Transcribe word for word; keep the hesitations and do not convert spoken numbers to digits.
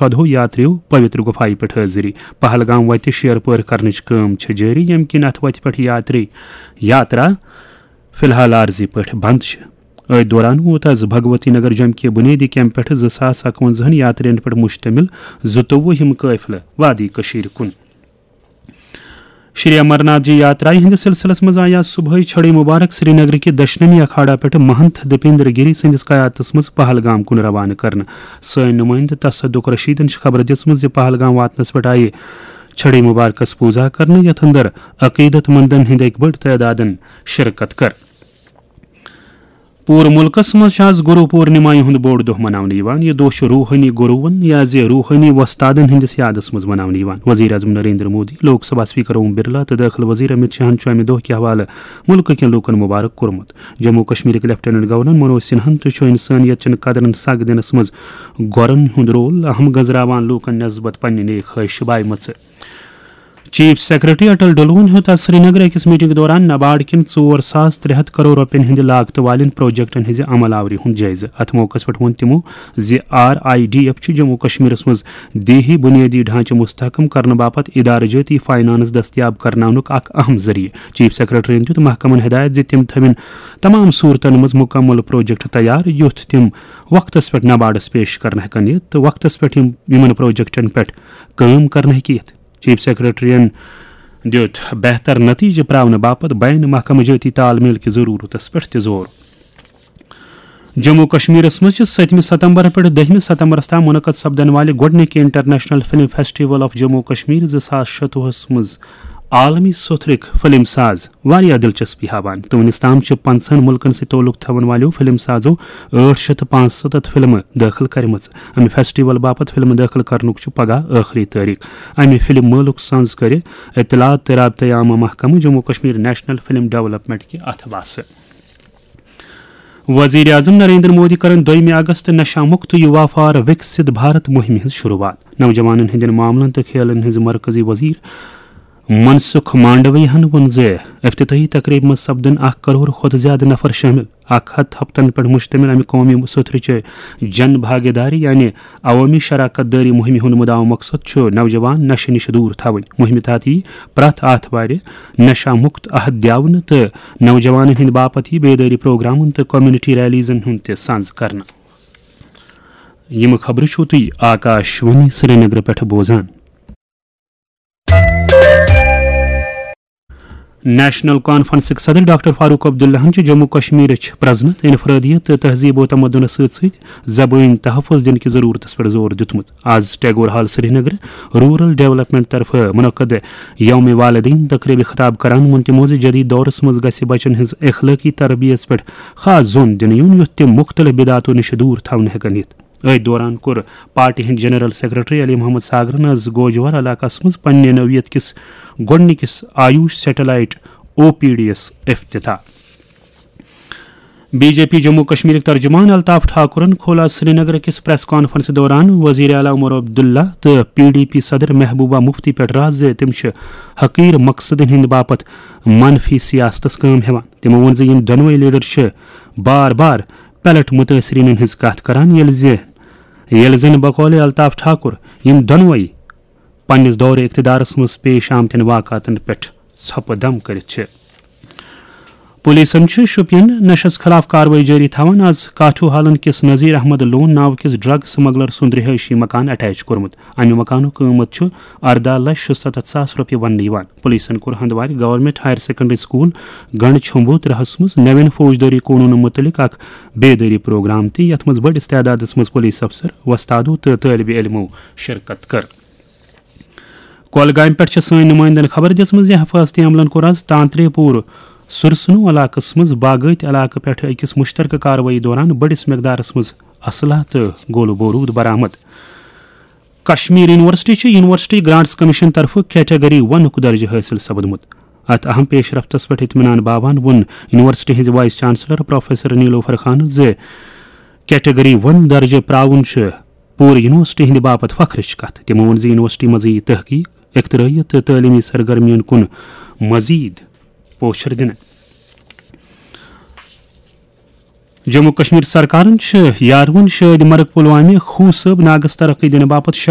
ژۄدہو یاتریو پویتر گُفایہِ پٮ۪ٹھ حٲضری۔ پہلگام وتہِ شیر پٲر کرنٕچ کٲم چھِ جٲری، ییٚمہِ کِنۍ اتھ وتہِ پٮ۪ٹھ یاتری یاترا فی الحال عارضی پٲٹھۍ بند چھِ۔ أتھۍ دوران ووت از بھگوتی نگر جوٚمہِ کہِ بُنیٲدی کیمپ پٮ۪ٹھ زٕ ساس اَکوَنزاہن یاترین پٮ۪ٹھ مشتمل زٕتووُہِم قٲفلہٕ وادی کٔشیٖرِ کُن۔ شری امرناتھ جی یاترایہِ ہٕنٛدِس سلسلس منٛز آیہِ آز صبحٲے چھڑے مبارک سرینگرٕ کہِ دشنمی اکھاڑا پٮ۪ٹھ مہنت دپیندر گیری سٕنٛدِس قیادتس منٛز پہلگام کُن روانہٕ کرنہٕ۔ سٲنۍ نُمٲیندٕ تصدق رشیدن چھِ خبر دِژمٕژ زِ پہلگام واتنس پٮ۪ٹھ آیہِ چھڑے مبارکس پوٗزا کرنہٕ، یتھ اندر عقیدت مندن ہٕنٛدۍ اکہِ بٔڑ تعدادن شرکت کٔر۔ پوٗرٕ مُلکَس منٛز چھُ آز گُروٗ پوٗرنِمایہِ ہُنٛد بوٚڑ دۄہ مناونہٕ یِوان۔ یہِ دۄہ چھُ روحٲنی گُروٗوَن یا زِ روحٲنی وۄستادَن ہٕنٛدِس یادَس منٛز مناونہٕ یِوان۔ وزیر اعظم نریندر مودی، لوک سبھا اسپیکر اوم برلا تہٕ دٲخلہٕ وزیر امیت شاہَن چھُ اَمہِ دۄہ کہِ حوالہٕ مُلکہٕ کٮ۪ن لوٗکَن مُبارک کوٚرمُت۔ جموں کشمیرٕکۍ لیفٹیننٹ گورنر منوج سنہاہَن تہِ چھُ اِنسٲنیت چٮ۪ن قدرَن سَگ دِنَس منٛز گۄرَن ہُنٛد رول اہم گنزراوان لوٗکَن نسبت پننہِ نیک خواہش بایمژٕ۔ چیف سیکرٹری اٹل ڈلون ہیوٚت آز سرینگرٕ أکِس میٹنگ دوران نباڈ کٮ۪ن ژور ساس ترٛےٚ ہتھ کرور رۄپین ہٕنٛدِ لاگتہٕ والٮ۪ن پروجیکٹن ہٕنٛزِ عمل آوری ہُنٛد جٲیزٕ۔ اتھ موقعس پٮ۪ٹھ ووٚن تِمو زِ آر آئی ڈی ایف چھُ جموں کشمیرس منٛز دیہی بُنیٲدی ڈھانچہٕ مستحکم کرنہٕ باپتھ ادارٕ جٲتی فاینانس دستیاب کرناونُک اکھ اہم ذٔریعہٕ۔ چیف سیکرٹریَن دیُت محکمن ہدایت زِ تِم تھٲوِن تمام صورتن منٛز مکمل پروجیکٹ تیار، یُتھ تِم وقتس پٮ۪ٹھ نباڈس پیش کرنہٕ ہٮ۪کن یِتھ تہٕ وقتس پٮ۪ٹھ یِم، یِمن پروجیکٹن پٮ۪ٹھ کٲم کرنہٕ ہیٚکہِ یِتھ۔ چیف سیکرٹریَن دیُت بہتر نتیجہٕ پراونہٕ باپتھ بین محکمہٕ جٲتی تال میل کہِ ضروٗرتس پٮ۪ٹھ تہِ زور۔ جموں کشمیرس منٛز چھِ سٔتمہِ ستمبر پٮ۪ٹھ دٔہمہِ ستمبرس تام منعقد سپدن والہِ گۄڈٕنِکہِ international film festival of Jammu Kashmir زٕ ساس شتوُہس منٛز عالمی سوتھرٕکۍ فلم ساز واریاہ دلچسپی ہاوان تہٕ وُنیُس تام چھِ پنژہن مُلکن سۭتۍ تعلق تھاون والیو فلم سازو ٲٹھ شیٚتھ تہٕ پانٛژستتھ فلمہٕ دٲخل کرِمژٕ۔ امہِ فیسٹیول باپتھ فلمہٕ دٲخل کرنُک چھُ پگاہ ٲخری تٲریخ۔ امہِ فلم مٲلُک سنز کرِ اطلاعات تہٕ رابطہ عامہ محکمہٕ Jammu Kashmir national film development کہِ اتھٕ باسہٕ۔ وزیر اعظم نریندر مودی کرن دویمہِ اگست نشہ مکت یوا فار وکسِت بھارت مہمہِ ہٕنٛز شروعات۔ نوجوانن ہٕنٛدٮ۪ن معاملن تہٕ کھیلن ہٕنٛز مرکزی وزیر منسکھ مانڈویہن ووٚن زِ افتتاحی تقریبہِ منٛز سپدن اکھ کرور کھۄتہٕ زیادٕ نفر شٲمِل۔ اکھ ہتھ ہفتن پٮ۪ٹھ مشتمل امہِ قومی سوتھرٕچہِ جن بھاگیداری یعنی عوامی شراکت دٲری مہمہِ ہُنٛد مُدعا مقصد چھُ نوجوان نشہٕ نِش دوٗر تھاوٕنۍ۔ مہمہِ تحت یی پرٛٮ۪تھ آتھوارِ نشہ مکت عہد دِیاونہٕ تہٕ نوجوانن ہٕنٛدِ باپتھ یی بیدٲری پروگرامن تہٕ کمیونٹی ریلیزن ہُنٛد تہِ سنز کرنہٕ۔ یِم خبرٕ چھِو تُہۍ آکاش وانی سرینگرٕ پٮ۪ٹھ بوزان۔ نیشنل کانفرنسٕکۍ صدر ڈاکٹر فاروق عبداللہن چھُ جموں کشمیرٕچ پرزنت، انفرادیت تہٕ تہذیب و تمدنس سۭتۍ سۭتۍ زبٲنۍ تحفظ دِنہٕ کہِ ضرورتس پٮ۪ٹھ زور دیُتمُت۔ آز Tagore hall Srinagar rural development طرفہٕ منعقد یوم والدین تقریبہِ خطاب کران ووٚن تِمو زِ جدید دورس منٛز گژھِ بچن ہٕنٛز اخلٲقی تربیت پٮ۪ٹھ خاص زون دِنہٕ یُن، یُتھ تِم مختلف بدعاتو نِش دوٗر تھاونہٕ ہٮ۪کن یِتھ۔ أتھۍ دوران کوٚر پارٹی ہٕنٛدۍ جنرل سیکرٹری علی محمد ساگرن از گوجور علاقس منٛز پننہِ نوعیت کِس گۄڈٕنِکِس آیوش سیٹلائٹ او پی ڈی یس افتتاح۔ بی جے پی جموں کشمیرٕکۍ ترجمان الطاف ٹھاکرن کھول آز سرینگر کِس پریس کانفرنس دوران وزیر اعلیٰ عمر عبداللہ تہٕ پی ڈی پی صدر محبوبہ مفتی پٮ۪ٹھ راز زِ تِم چھِ حقیر مقصدن ہٕنٛدِ باپتھ منفی سیاستس کٲم ہٮ۪وان۔ تِمو ووٚن زِ یِم دۄنوَے لیڈر چھِ بار بار پیلٹ متٲثریٖنن ہٕنٛز کتھ کران، ییٚلہِ زِ، ییٚلہِ زن بقول الطاف ٹھاکر یِم دۄنوَے پننِس دورِ اقتدارس منٛز پیش آمتٮ۪ن واقعاتن پٮ۪ٹھ ژھۄپہٕ دم کٔرِتھ چھِ۔ پولیسن چھِ شوپین نشس خلاف کاروٲیی جٲری تھاوان۔ از کاٹھو حالن کِس نذیر احمد لون ناو کِس ڈرگ سمگلر سُنٛد رہٲیشی مکان اٹیچ کوٚرمُت۔ امہِ مکانُک قۭمتھ چھُ ارداہ لچھ شُستتھ ساس رۄپیہِ وننہٕ یِوان۔ پولیسن کوٚر Handwara government higher secondary school گنڈ چھومبو ترہس منٛز نوٮ۪ن فوجدٲری قونوٗنن مُتعلق اکھ بیدٲری پروگرام تہِ، یتھ منٛز بٔڑِس تعدادس منٛز پولیس افسر، وۄستادو تہٕ طٲلبہِ علمو شرکت کٔر۔ کۄلگامہِ پٮ۪ٹھ چھِ سٲنۍ نُمٲیندَن خبر دِژمٕژ زِ حفاظتی عملَن کوٚر آز تانترے پوٗر سُرسنو علاقَس منٛز باغٲتۍ علاقہٕ پٮ۪ٹھٕ أکِس مُشترکہٕ کاروٲیی دوران بٔڑِس مقدارَس منٛز اسلحہ تہٕ گولہٕ بوروٗد برآمد۔ کشمیر یونیورسٹی چھِ یونیورسٹی گرانٹس کمیشن طرفہٕ کیٹیگری ونُک درجہٕ حٲصِل سپدمُت۔ اتھ اہم پیش رفتس پٮ۪ٹھ اطمینان باوان ووٚن یونیورسٹی ہٕنٛزِ وائس چانسلر پروفیسر نیلوفر خانن زِ کیٹیگری ون درجہٕ پراوُن چھُ پوٗرٕ یونیورسٹی ہٕنٛدِ باپتھ فخرٕچ کتھ۔ تِمو ووٚن زِ یونیورسٹی منٛز یِیہِ تحقیق، اختراعیت تہٕ تعلیمی سرگرمیَن کُن مزید پوچھر دِنہٕ۔ جموں کشمیر سرکارن چھِ یاروَن شٲدۍ مرگ پلوامہِ خوٗصٲب ناگس ترقی دِنہٕ باپتھ شےٚ